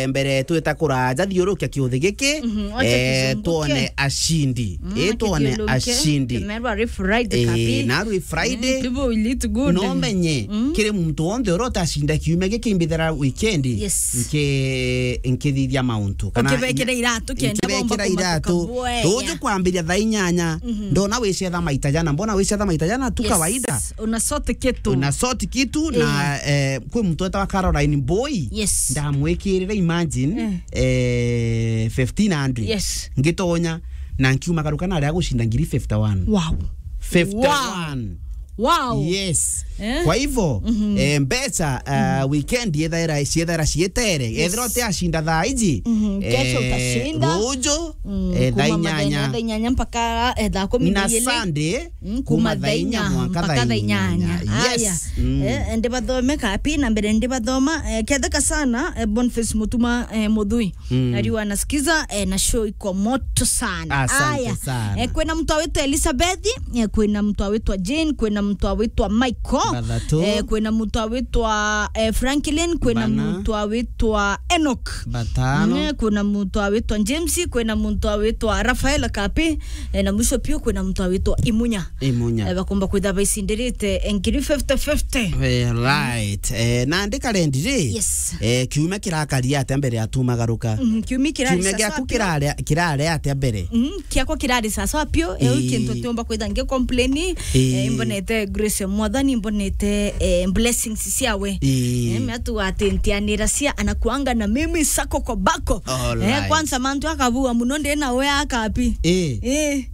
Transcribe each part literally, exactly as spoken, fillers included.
mbere twita kuraja thiurukia kiuthi giki, Mhm, wacha eh, kizunguke. Twone ashindi. Mm, Eh, twone kiziuruke. Ashindi. Tumerwa ri Friday Eh, kapi. Na ri Friday. Mm, people will eat good. No menye, Mm. kiri muntu wonthe uria utashinda kiumia giki mbithira weekend, Yes. nki-, nkithithia mauntu. Kana Ukibekira iratu, kenda nkibekira bomba iratu. Kumatuka bwega. Ruju kwambiria thaa inyanya, Mhm. ndona wicetha maita jana, mbona wicetha maita jana tu Yes. kawaida. Una sort kitu. Una sort kitu na, Eh. eh, kwi muntu wetagwa Caroline Boy. Yes. Ndamwikirire, imagine, Eh. eh, fifteen hundred. Yes. Ngitonya na nkiuma garuka na aria gucinda ngiri fifty-one. Wow. Fifty-one. Wow. Yes. Eh? Kwa hivyo, Mhm. eh, mbeca, ah, Mhm. weekend yethaira, ciethaira cietere. Yes. Ethira uti acinda thaa iji, Mhm. Kesho eh, utashinda. Ruju, Mm, eh, thaa kuma mathenya inyanya. Thaa inyanya mpaka, eh, thaa kumi na Na ili. Sunday, Mm, kuma kuma thaa inya thaa inya mwanka mpaka thaa thaa inyanya. Inyanya. Yes. Aya. Mm. Eh, ndibathome kapi na mbere ndibathoma, eh, ketheka sana, eh, Boniface Mutuma, eh, Muthui. Mm. Ariwa anasikiza, eh, na show iko moto sana. Asante Aya. Sana. Eh, kwina mtu awitwa Elizabeth, eh, kwina mtu awitwa Jane, kwina mtu awitwa Michael. Bathatu. Eh, kwina mtu awitwa, eh, Franklin, kwina Bana. Mtu awitwa Enoch. Batano. Mm, kwina mtu awitwa James, kwina mtu awitwa Rafael Kapi, eh, na mwisho pio kwina mtu awitwa Imunya. Imunya. Eh, bakomba kwitha baicindirite, eh, ngiri fifty fifty. Eh, right. Eh, na ndi karendi ri? Yes. Eh, kiumia kirakari atia mbere ya tumagaruka? Mhm, kiumia kirari Kiumia sasa giaku pio. Kirari, kirari atia mbere? Mhm, kiakwa kirari sasa pio, eh, Ii. Kintu tiumba kwitha ngi complain, Ii. Eh, imbonete grace ya Mwathani, imbonete, eh, blessings ciawe. Ii. Eh, mea tu ati ntianira cia anakuanga na mimi sako kwa bako. All Eh, right. Kwanza mantu akabua muno ndi na we akapi. Ii. Eh.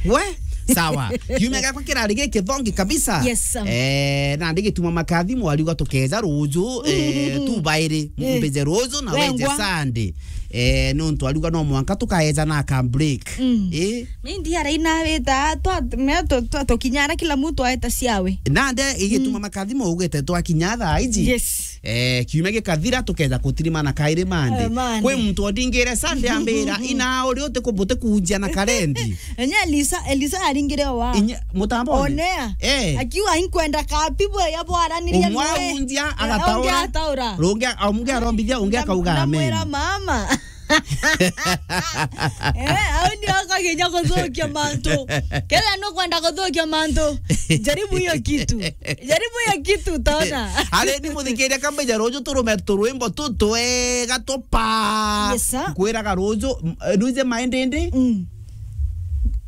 We? Sawa. Kiumia giakwa kirari gikithongi kabisa. Yes, sir. Eh, na ndigituma makathimo ariuga tukeja ruju, eh, Mm. tu bairi, Eh. Mbije ruju na weje Wengwa. Sunday. Eh, nontu ariuga no mwanka tukaeja na ka break. Mm. Eh? Ni ndiara inawita, twa, me, twa, twa, tukinyara kila mtu aeta ciawe. Nande igituma Mm. makathimo ugite twakinya thaa iji. Yes. Eh, kiumia gikathira tukeja kutirimana kairi Monday. Eh, Monday. Kwi muntu ondingire Sunday ambira, "Ina uri uti kubute kunjia na karendi." Enye Elisa, Elisa aringire wa. Inya, mutambo one? Onea. Eh. Akiuga, "Inkwenda kapi bwe ya bwaraniria Umwe nawe." Aunjia, Eh, agataura. Ungi ataura. Rungi, amungi arombithia, ungi Na, akauga, "Amen." Namwira mama. Eh, au ndio akaginya kuthukia mantu. Kethira nukwenda kuthukia mantu, jaribu hiyo kitu. Jaribu hiyo kitu, utaona. Ari ni muthikiria kambeja ruju turume turwimbo tu twega tupa. Yes, sir. Nkwiraga ruju, m-, eh, nuize maendende? Mm.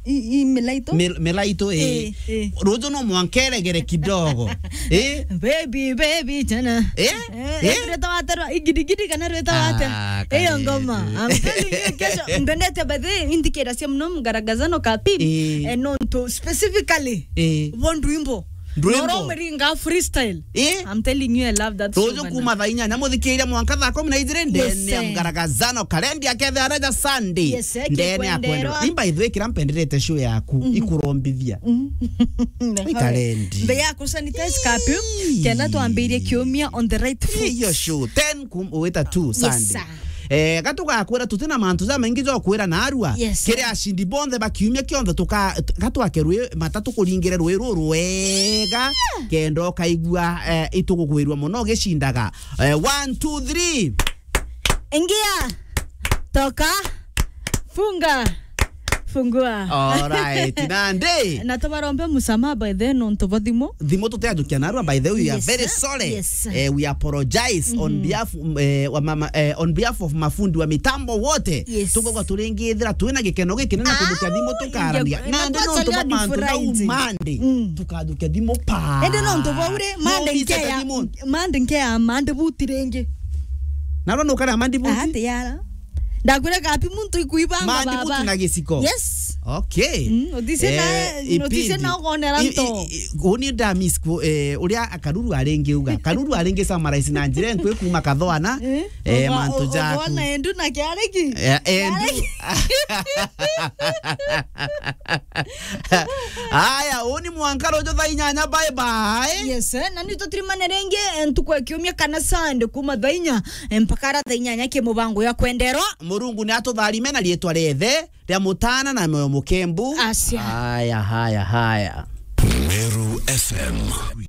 I, i milaito? Mil-, milaito, eh. Eh, eh. Ruju no mwankeregere kidogo. Eh? Baby, baby, tena. Eh? Eh, Eh? Rwita waterwa, igidigidi kana rwita waterwa. Ah, Iyo ngoma. Karibu. I'm telling you, kesho, mbendete by the way, indikira cia muno mgaragazano kapi. Eh. Eh, nontu specifically. Eh. Bo ndwimbo. Ndwimbo. Noro mringa freestyle. Eh? I'm telling you, I love that song, Ruju bana. Kuma thaa inyanya muthikiria mwanka thaa kumi na ijiri ndene ya Yes, eh. Mgaragazano, karendi akethe areja Sunday. Yes, eh, ndene ya kwenderwa. Kwenderwa. Imba ithwikira mpenderete show yaku, Mhm. Ikurombithia. Mhm. Ikarendi. Mbe ya ku sanitize kapi, Ii. Kenda twambirie kiumia on the right foot. Iyo show, ten kum-, wita two Yes, Sunday. Sir. Eh, gatugakwira tutina mantu jamaingi ja kwira narua. Yes, sir. Kiri ashindi bonthe ba kiumia kionthe tuka-, gatwake rwi matatu kuringire rwi ruru rwega, kenda ukaigua, eh, itugugwirua muno ugicindaga. Eh, one, two, three. Ingia. Toka. Funga. Fungua. All right. Nandi. Na tubarombe musamaha by the way, nontu bwa thimu. Thimu tuteajukia narua, by the way, we are Yes, very sir. Sorry. Yes, sir. Eh, we apologize on Mhm. behalf, mm, eh, wa mama, eh, on behalf of mafundi wa mitambo wote. Yes. Tukogwa turingithira twina gikeno gikinene Ah, kujukia thimu tukarania. Nandi nontu bwa mantu na umandi. Mm. Tukajukia thimu pa. Ende nontu bwa ure, No mande mbica nkeya. Thimu. Mande nkea mande buti ringi. Narua nukara mandi buti? Ati yara. Ndakwira kapi muntu ikuibanga Mandi baba. Buti na giciko? Yes. Okay. Mm, utise na, Eh, utise ipindi. Na ugonera I, i, nto. I, uni ndamiss ku, eh, uria Karuru aringi uga. Karuru aringi summarize na njira enkwe kuma kathoana, Eh, eh, uga-, mantu u-, jaku. Ugoona endu na kiariki. Eh, endu. Kiariki. Aya, uni mwanka ruju thaa inyanya, bye bye. Yes, eh, na ni tutirimane ringi, eh, ntuku ya kiumia kana Sunday kuma thaa inya, eh, mpaka ara thaa inyanya ki mubango ya kwenderwa. Murungu ni atutharime na riitwa riethe ria Mutana na Moyo Mukembu. Acia. Haya, haya, haya. Meru F M.